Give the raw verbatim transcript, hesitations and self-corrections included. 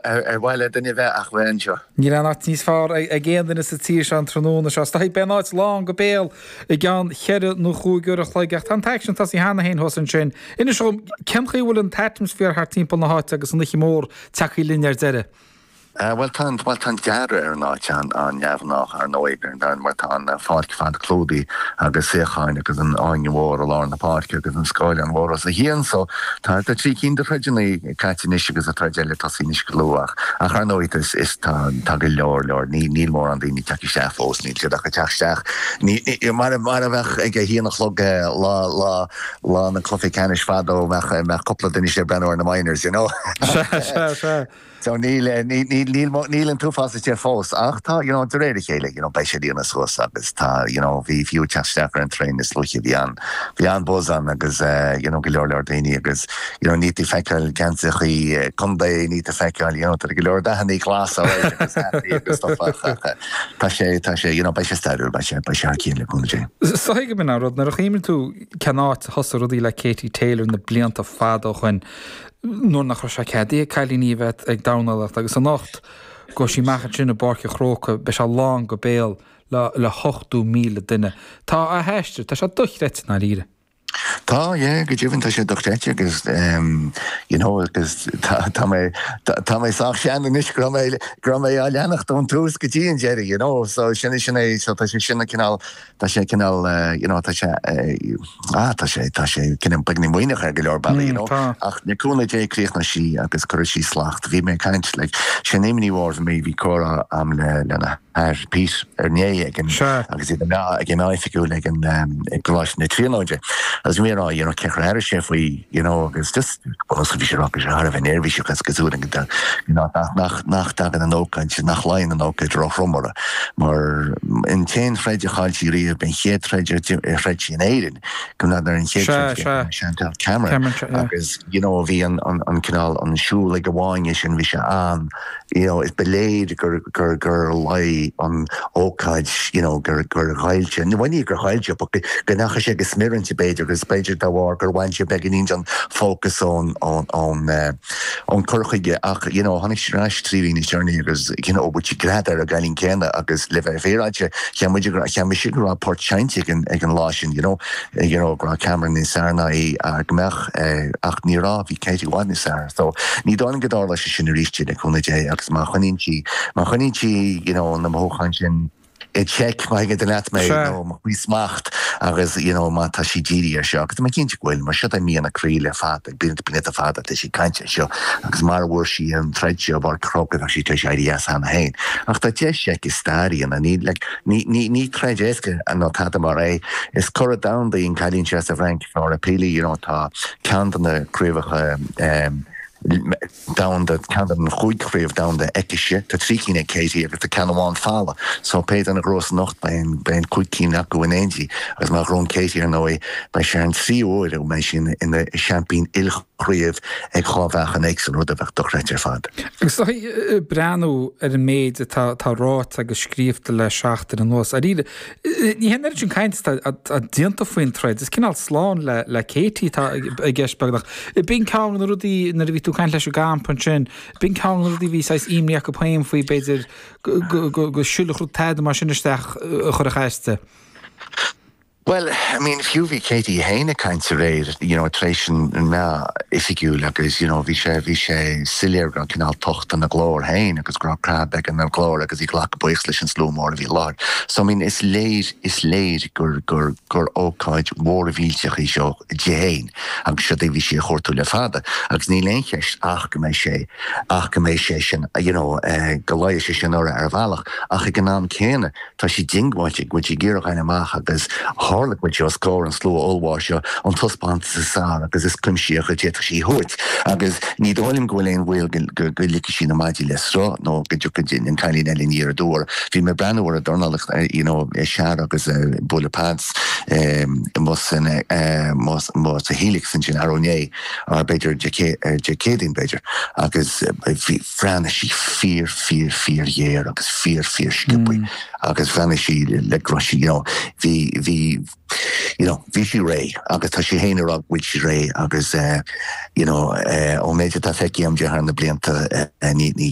Ar mhaith le duine bheith ach bheith anseo. Níl aon áit níos fearr ag aon duine sa tír seo an tráthnóna seo. Beidh an áit lán go béal i gceann cheithre nó chúig uair a chloig ach tá an t-aicsean tosaithe cheana féin thuas ansin. Inis dom, cén chaoi a bhfuil an t-atmaisféar thart timpeall na háite agus an oíche mhór tagtha linn ar deireadh? Bhuel tá bhuel tá an dearadh ar an áit an-neamhghnách ar ndóigh mar tá an pháirc fad clúdaithe agus suíocháin agus an fháinne mhór i lár na páirce agus an scáileán mhór os a chionn so tá tá trí cinn de throideanna caite anois agus an troid eile tosaithe anois go luath ach ar ndóigh is is tá tá go leor leor ní níl mórán daoine ag teacht isteach fós níl siad ach ag teacht isteach ní mar mar a bheadh ag a haon a chlog lá lá lá na cluichí ceannais fadó bheadh bheadh cúpla duine ag breathnú ar na minors you know. Sea sea sea. So níl níl níl níl an t-uafás istigh fós ach tá you know de réir a chéile you know beidh sé líonadh suas agus tá you know bhí fiú teacht isteach ar an traein níos luaithe bhí an bhí an buzz ann agus uh, you know go leor leor daoine agus you know ní tú feiceáil geansaithe contae ní tú feiceáil you know tá go leor dathanna glas agus agus stuff ach tá sé tá sé you know beidh sé stairiúil beidh sé beidh sé thar cionn le cúnamh Dé. So go min rud nuair a chuimhníonn tú cén áit a thosaigh rudaí le Katie Taylor na blianta fada ó shin nuair nach raibh sé ceadaithe ag cailíní a bheith ag dornálaíocht agus anocht go sí amach ansin i bPáirc an Chrócaigh beidh sé lán go béal le le hochtó míle duine. Tá a haistear, tá sé dochreidte ndáiríre. Tá yeah, go deimhin tá sé dochreidte agus um, you know agus tá tá mé tá mé sách sean anois go mé go mé á leanacht ón tús go dtí an deireadh you know so sin sin é so tá sé sin cineál tá sé cineál uh, you know tá sé uh, ah tá sé tá sé cineál beagáinín maoithneach ar go leor bealaí you know tá. ach le cúnamh Dé críochnóidh sí agus cuirfidh sí slacht bhí mé ag caint like sin éiminí war mé bhí comhrá agam le lena hathair Pete ar né ag an Sea. agus iad an ag an oifigiúil ag an um, ag Coláiste na Tríonóide agus mé rá you know cé air sé faoi you know agus just well bhí sé rá sé thar a bheith neirbhíseach agus cosúil go you know nach nach nach dtagann an ócáid nach luíonn an ócáid róthrom uirthi mar an t-aon troid a chaill sí riamh an chéad troid a throid sí in Éirinn go ná ar an chéad Sea, troid sea. Chantel Cameron Cameron, yeah. agus you know bhí an an an cineál an siúl ag amháin sin bhí sé an you know is ba léir gur gur gur luigh an ócáid you know gur gur ghailte ní bhaine gur ghailte go go ndeachaigh sé go smior inti b'fhéidir agus b'fhéidir dá bharr gur bhain sé beagáinín an focus ón ón ón uh, ón cur chuige ach you know tháinig sí ar ais trí mhí níos deireanaí agus you know bhí gread ar an gcailín céanna agus le bheith féaráilte cheap muid cheap mise go raibh port seinnte ag an ag an lá sin you know you know go raibh Cameron níos fearr ná í go mbeadh eh, ach ní raibh bhí Katie i bhfad níos fearr so ní dóigh liom go dtarlóidh sé sin arís le cúnamh Dé agus má choinníonn sí má choinníonn sí you know na mothúcháin sin i check má thuigeann leat mé Sea. nó má faoi smacht agus you know má tá sí dírithe air seo agus tá mé cinnte go bhfuil mar seo é mian a croí le fada blianta blianta fada tá sí ag caint air seo agus mar bhfuair sí an troid seo bar cro bheadh sí tar éis éirí as cheana féin ach tá deis aici stair a dhéanamh ní like, ní ní ní troid éasca an tada mar é is curadh domhanda í an cailín seo sa Fhrainc Laura Pili you know tá ceann de na craobhacha um, domhanda ceann den chúig chraobh domhanda aici tá trí cinn ag Katie agus tá ceann amháin folamh so pé duine a ghnóthós anocht beidh beidh cúig cinn acu in éindí agus má ghnóthaíonn Katie ar ndóigh beidh sé an tríú huair ó mbeidh sin ina seaimpín ilchraobh ag dhá mheáchan éagsúil rud a bheadh dochreidte ar fad. Agus tá breathnú ar an méid atá tá ráite agus scríofa le seachtain anuas. Ar ní hen ar sin caint a déanta faoin troid, is cineál slán le le Katie tá i gceist beagnach. B'in ceann na rudaí nuair a bhí tú ag caint leis an gcampa ansin, b'in ceann na rudaí bhí saghas imní acu féin faoi b'fhéidir go go go siúlfadh rud tada mar sin isteach a chur a chaiste. Well, I mean, fiú bhí Katie féin ag caint aréir, you know, tar éis an an meá oifigiúil agus you know, bhí sé bhí sé soiléir go raibh cineál tocht ina glór féin agus go raibh crab ag an glór agus í ag glacadh buíochas leis an slua mór a bhí i láthair. So I mean, is léir is léir gur gur gur ócáid mhór mhillteach í seo di féin agus seo é bhí sí ag cuartú le fada agus níl aon cheist ach go mbeidh sé ach go mbeidh sé sin you know, uh, go luífidh sé sin uirthi ar bhealach ach ag an am céanna tá sí diongbháilte go bhfuil sí ag iarraidh a amach agus tharla go bhfuil sí os comhair an slua ollmhór seo an taispeántas is fearr agus is cuimsitheach a d'fhéadfadh sí a thabhairt agus ní dóigh liom go bhfuil aon bhaol go go ligfidh sí na maidí le sruth nó go dtiocfaidh an cailín eile aniar aduaidh. Bhí mé ag breathnú ar an dornálaíocht you know, sear agus uh, bualadh pads um, san uh, sa Helix ansin arú inné ar b'fhéidir Dé Céadaoin b'fhéidir agus bhí bhreathnaigh sí fíor fíor fíor ghéar agus fíor fíor sciobtha agus bhreathnaigh sí le gro sí you know, bhí bhí you know bhí sí réidh agus tá sí féin ag rá go bhfuil sí réidh agus uh, you know uh, ó méid atá feicthe agam thar na blianta uh, ní ní